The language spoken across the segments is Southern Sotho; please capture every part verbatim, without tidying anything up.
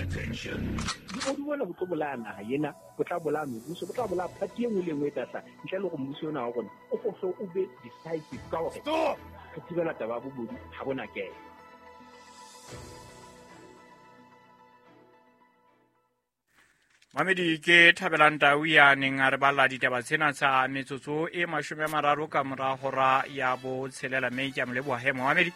Attention. Bobodu bona bo tlo bolaya naha ena, bo tla bolaya mebuso, bo tla bolaya party e nngwe le e nngwe e tla hlaha. Ntle le hore mmuso ona wa rona o hlohle o be decisive ka hore Stop! re thibela taba ya bobodu ha bona kena. Mamedi ke Thabelang Tau ya neng a re balla ditaba tsena tsa metsotso e mashome a mararo ka mora hora ya botshelela, mme ke a mo leboha he Mohamedi.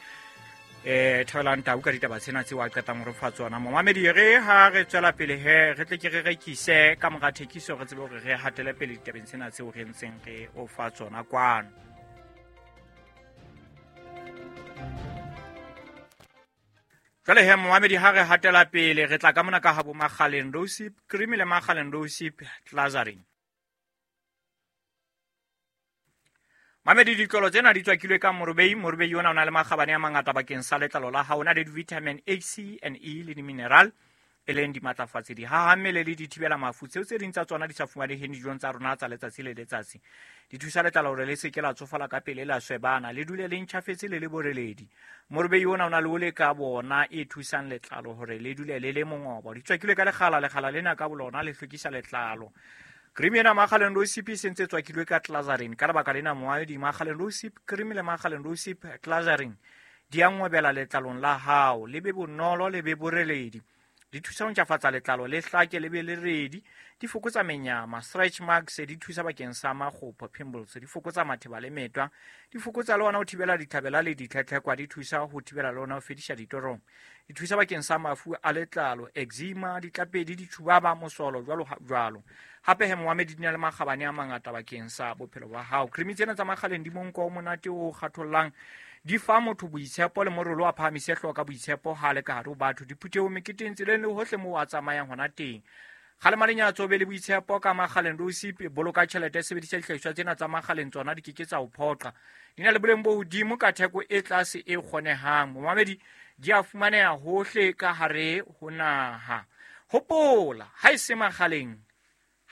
Eh Thabelang Tau ka ditaba tsena tseo a qetang ho re fa tsona. Mohamedi, re ha re tswela pele he re tle ke re rekise ka mora thekiso, re tsebe hore re hatele pele ditabeng tsena tseo re ntseng re o fa tsona kwano. Jwale he Mohamedi, ha re hatela pele re tla ka mona ka habo Makgaleng Rosip Cream le Makgaleng Rosip Glazarin. Mamedi, ditlolo tsena di tswakilwe ka morobei. Morobei ona o na le makgabane a mangata bakeng sa letlalo la hao. O na le di-vitamin A, C and E le di-mineral e leng dimatlafatsi, dihaha mmele le dithibela mafu, tseo tse ding tsa tsona di sa fumaneheng dijong tsa rona tsa letsatsi le letsatsi. Di thusa letlalo hore le se ke la tsofala ka pele, la swebana, le dule le ntjhafetse le le boreledi. Morobei ona o na le ole ka bona e thusang letlalo hore le dule le le mongobo. Di tswakilwe ka lekgala, lekgala lena ka bolona le hlwekisa letlalo. Cream ena Makgaleng Rosip e sentse tswakilwe ka Glazarin. Ka lebaka lena moaedi, Makgaleng Rosip Cream le Makgaleng Rosip Glazarin di a ngwebela letlalong la hao, le be bonolo, le be boreledi. Di thusa ho ntjhafatsa letlalo, le hlake, le be le redi. Di fokotsa menyama, stretch marks, di thusa bakeng sa makgopho, pimples, di fokotsa matheba le metwa, di fokotsa le ona ho thibela dithabela le ditlhetlhekwa, di thusa ho thibela le ona ho fedisa ditorong. Di thusa bakeng sa mafu a letlalo, eczema, ditlapedi, ditjhubaba, mosolo, jwalo jwalo. Hape he Mohamedi, di na le makgabane a mangata bakeng sa bophelo ba hao. Cream tsena tsa Makgaleng di monko o monate o kgathollang, di fa motho boitshepo le morolo a phahamise hlooho ka boitshepo ha le ka hare ho batho, diphuthehong, meketeng, tseleng le hohle moo a tsamayang hona teng. Kgalema lenyatso, be le boitshepo ka Makgaleng Rosip. Boloka tjhelete, sebedisa dihlahiswa tsena tsa Makgaleng, tsona di ke ke tsa o phoqa. Di na le boleng bo hodimo ka theko e tlase e kgonehang. Momamedi, di a fumaneha hohle ka hare ho naha. Hopola, ha e se Makgaleng,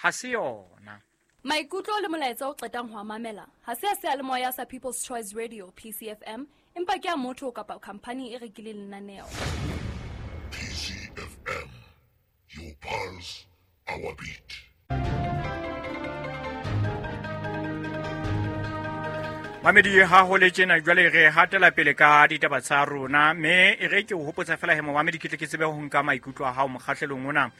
ha se yona. Maikutlo le molaetsa o qetang ho a mamela ha se a seyalemoya sa People's Choice Radio P C F M, empa ke a motho kapa khamphani e rekileng lenaneo. P C F M, your pulse, our beat. Mamedi, ha ho le tjena jwale re hatela pele ka ditaba tsa rona, mme e re ke o hopotsa fela he Mohamedi, ke tle ke tsebe ho nka maikutlo a hao mokgahlelong ona,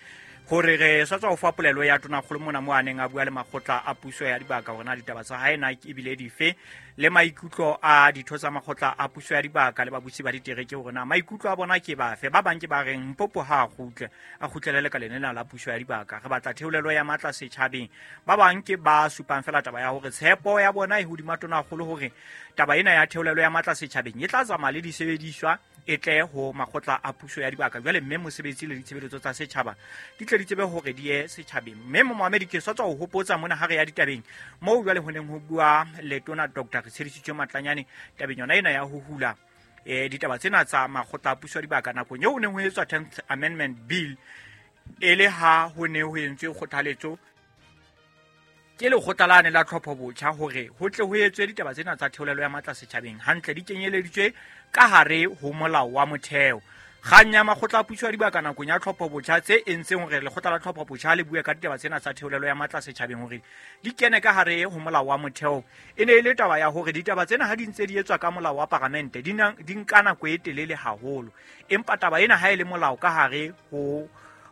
hore re sa tswa ho fa polelo ya Tonakgolo mona mo a neng a bua le makgotla a puso ya dibaka hore na ditaba tsa hae na ebile dife, le maikutlo a ditho tsa makgotla a puso ya dibaka le babusi ba ditereke hore na maikutlo a bona ke bafe. Ba bang ke ba reng Mpopo ha a kgutle, a kgutlele lekaleng lena la puso ya dibaka, re batla theolelo ya matla setjhabeng. Ba bang ke ba supang fela taba ya hore tshepo ya bona e hodima Tonakgolo hore taba ena ya theolelo ya matla setjhabeng e tla tsamaya le disebediswa e tle ho makgotla a puso ya dibaka jwale, mme mosebetsi le ditshebeletso tsa setjhaba di tle di tsebe hore di ye setjhabeng. Mme Mohamedi, ke sa tswa ho hopotsa mona ha re ya ditabeng moo jwale ho neng ho bua letona Doctor Retshedisitswe Matlanyane tabeng yona ena ya ho hula eh ditaba tsena tsa makgotla a puso ya dibaka nakong eo ho neng ho etswa tenth Amendment Bill, e le ha ho ne ho entswe kgothaletso ke lekgotla lane la tlhopho botjha hore ho tle ho etswe ditaba tsena tsa theolelo ya matla setjhabeng hantle, di kenyeleditswe ka hare ho molao wa motheo. Kgang ya makgotla a puso ya dibaka nakong ya tlhopho botjha tse entseng hore lekgotla la tlhopho botjha le bue ka ditaba tsena tsa theolelo ya matla setjhabeng hore di kene ka hare ho molao wa motheo, e ne e le taba ya hore ditaba tsena ha di ntse di etswa ka molao wa paramente di na, di nka nako e telele haholo, empa taba ena ha e le molao ka hare ho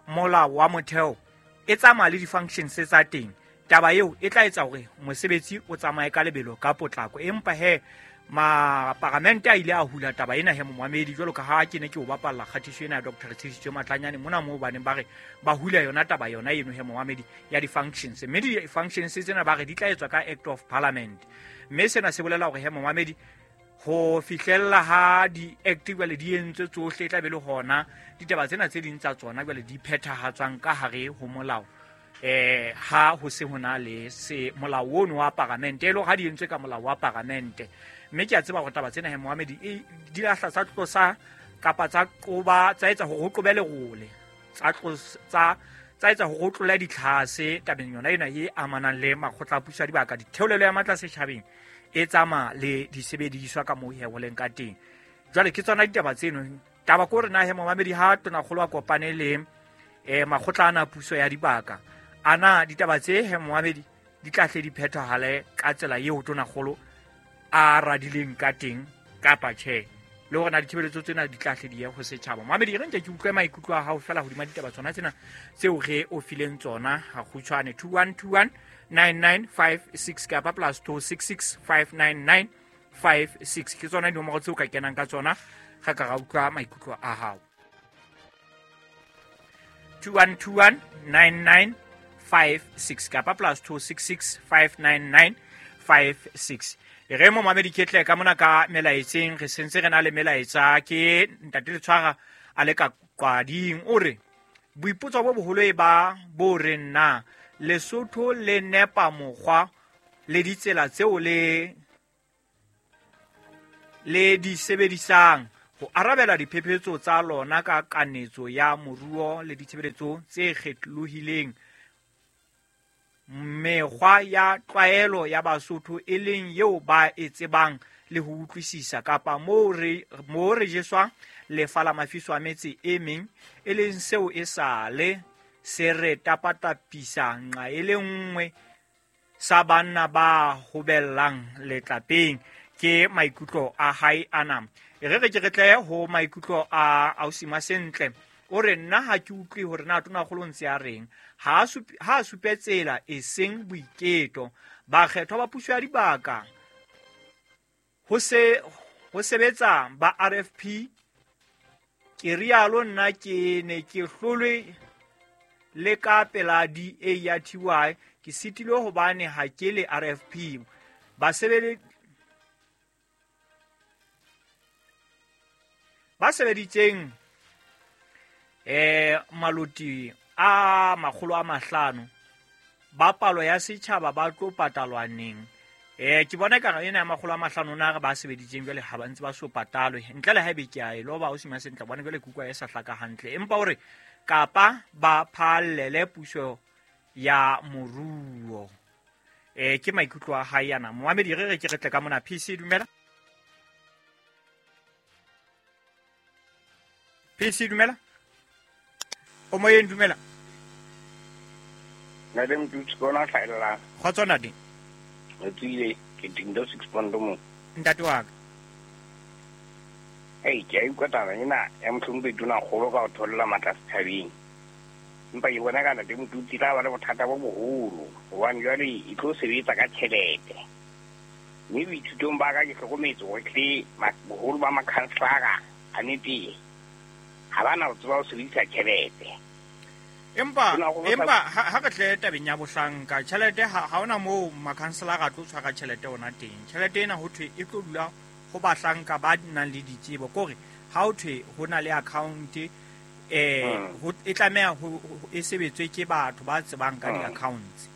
molao wa motheo e tsamaya le di-functions tsa teng. Taba eo e tla etsa hore mosebetsi o tsamaye ka lebelo ka potlako, empa he maparamente a ile a hula taba ena he Mohamedi, jwalo ka ha ke ne ke o bapalla kgatiso ena ya Doctor Retshedisitswe Matlanyane mona moo baneng ba re ba hula yona taba yona eno he Mohamedi ya di-functions, mme di-functions tsena ba re di tla etswa ka Act of Parliament, mme sena se bolela hore he Mohamedi ho fihlella ha di-act jwale di entswe tsohle, e tla be le hona ditaba tsena tse ding tsa tsona jwale di phethahatswang ka hare ho molao. Eh ha ho se hona le se molao ono wa paramente, e le ha di entswe ka molao wa paramente. Mme ke a tseba hore taba tsena he Mohamedi e di lahla tsa tlosa kapa tsa qoba, tsa etsa hore ho qobe lerole, tsa tsa tsa etsa hore ho tlole ditlhase tabeng yona ena e amanang le makgotla a puso ya dibaka. Ditheolelo ya matla setjhabeng e tsamaya le disebediswa ka moo he ho leng ka teng. Jwale ke tsona ditaba tseno. Taba ke hore na he Mohamedi ha Tonakgolo a kopane le eh makgotla ana puso ya dibaka ana ditaba tse he moamedi di tla hle di phethahale ka tsela eo tonakgolo a radileng ka teng kapa tjhe le hore na ditshebeletso tsena di tla hle di ye ho setjhaba. Moamedi re nke ke utlwe maikutlo a hao fela hodima ditaba tsona tsena tseo re o fileng tsona ha kgutshwane two one two one nine nine five six kapa plus two six six five nine nine five six ke tsona dinomoro tseo ka kenang ka tsona ga ka ra utlwa maikutlo a hao. two one two one nine nine five six kapa plus two six six five nine nine five six. Re mo mamedi ke tle ka mona ka melaetseng re sentse re na le melaetsa ke ntate Letshwara a le ka kwading o re boipotso bo boholo e ba bo re nna Lesotho le nepa mokgwa le ditsela tseo le le di sebedisang ho arabela diphephetso tsa lona ka kanetso ya moruo le ditshebeletso tse kgetholohileng mekgwa ya tlwaelo ya Basotho e leng eo ba e tsebang le ho utlwisisa kapa moo re moo re jeswang lefa la mafiso a metse e meng e leng seo e sale se re tapatapisa nqa e le nngwe sa banna ba hobellang letlapeng. Ke maikutlo a hae ana. E re re ke re tle ho maikutlo a Ausima Sentle o re nna ha ke utlwe hore na tonakgolo ntse a reng ha ha supe tsela e seng boiketo bakgethwa ba puso ya dibaka ho se ho sebetsa ba R F P ke rialo nna ke ne ke hlolwe le ka pela D A ya T Y ke sitilwe hobane ha ke le R F P ba sebele ba sebeditseng eh maloti a makgolo a mahlano ba palo ya setjhaba ba tlo patalwa neng. Eh ke bona ka ena ya makgolo a mahlano na re ba sebeditseng jwale ha ba ntse ba so patalwe ntle le haebe ke a e loba o sima sentle bona jwale kuka e sa hlaka hantle empa hore kapa ba phallele puso ya moruo. Eh ke maikutlo a hae yana moamedi re re ke re tle ka mona P C dumela P C dumela o moyeng dumela Ntate Mtutsi kona hlaella kgotso ntate re tswile ke dinto six pondo mo ntate wa ka ei ke a utlwa taba ena ya mohlomphehi tonakgolo ka ho tholla matla setjhabeng empa ke bona ka ntate Mtutsi tla ba le bothata bo boholo hobane jwale e tlo sebetsa ka tjhelete mme boithutong ba ka ke hlokometse hore tle boholo ba makhanselara a nete ha ba na ho tseba ho sebedisa tjhelete. Empa empa ha re tle tabeng ya bohlanka tjhelete ha hona moo makhanselara a tlo tshwara tjhelete ona teng tjhelete ena ho thwe e tlo dula ho bahlanka ba nang le ditsebo kore ha ho thwe ho na le account eh ho e tlameha ho e sebetswe ke batho ba tsebang ka di-accounts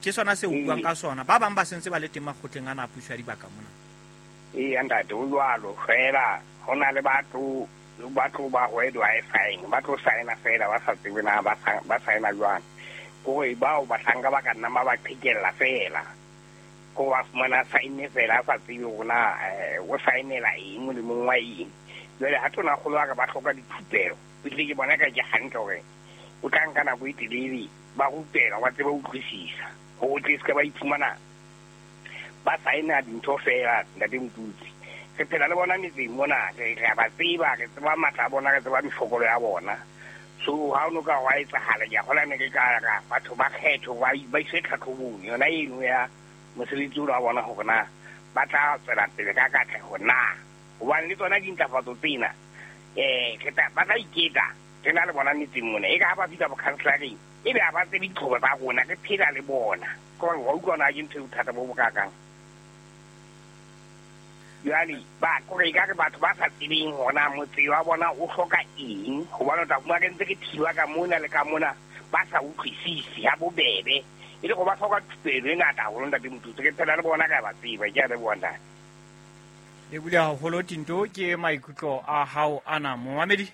ke sona se buang ka sona ba bang ba sentse ba le teng makgotleng ana a puso ya dibaka mona. Ee ntate o jwalo fela ho na le batho ba tlo ba where do I sign ba tlo signa fela ba sa tsebe na ba ba signa jwang kore bao bahlanka ba ka nna ba ba qhekella fela ko ba fumana sign fela sa tsebe hore na o signela eng molemong wa eng jwale ha tonakgolo a ka ba hloka dithupelo ebile ke bona ka ke hantle hore o tla nka nako e telele ba rupela ba tsebe ho utlwisisa ho tle se ka ba iphumana ba signa dintho fela ntate Mtutsi re phela le bona metseng mona re a ba tseba re tseba matla a bona re tseba mefokolo ya bona so ha o no ka wa etsahala ke a kgola ne ke ka ra batho ba kgetho ba ba iswe tlhatlhobong yona eno ya mosebetsi ona wa bona hore na ba tla tswela pele ka katleho na hobane le tsona dintlafatso tsena eh re tla ba tla iketla re na le bona metseng mona e ka ha ba fihla bokhanselareng ebe ha ba tsebe ditlhoko tsa rona re phela le bona ke hore wa utlwa na ke ntho e bothata bo bokakang. Jwale ba kore ekare batho ba sa tsebeng hona motse wa bona o hloka eng hobane o tla fumana re ntse re thiba ka mona le ka mona ba sa utlwisisi ha bobebe e le go ba hloka thupelo e ngata haholo ntate Mtutsi re phela le bona ka ba tseba ke a leboha ntate. Le bule haholo Tinto ke maikutlo a hao ana momamedi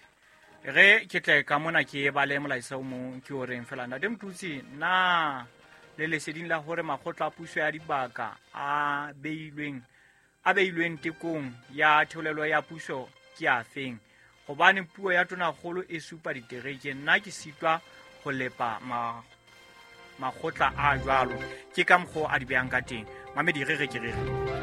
re ke tle ka mona ke bale molaetsa o mong ke o reng fela ntate Mtutsi na le leseding la hore makgotla a puso ya dibaka a beilweng a beilweng tekong ya theolelo ya puso ke a feng Gobane puo ya tonakgolo e supa ditereke, nna ke sitwa ho lepa ma makgotla a jwalo. Ke ka mokgwa a di behang ka teng. Mamedi re re ke re re.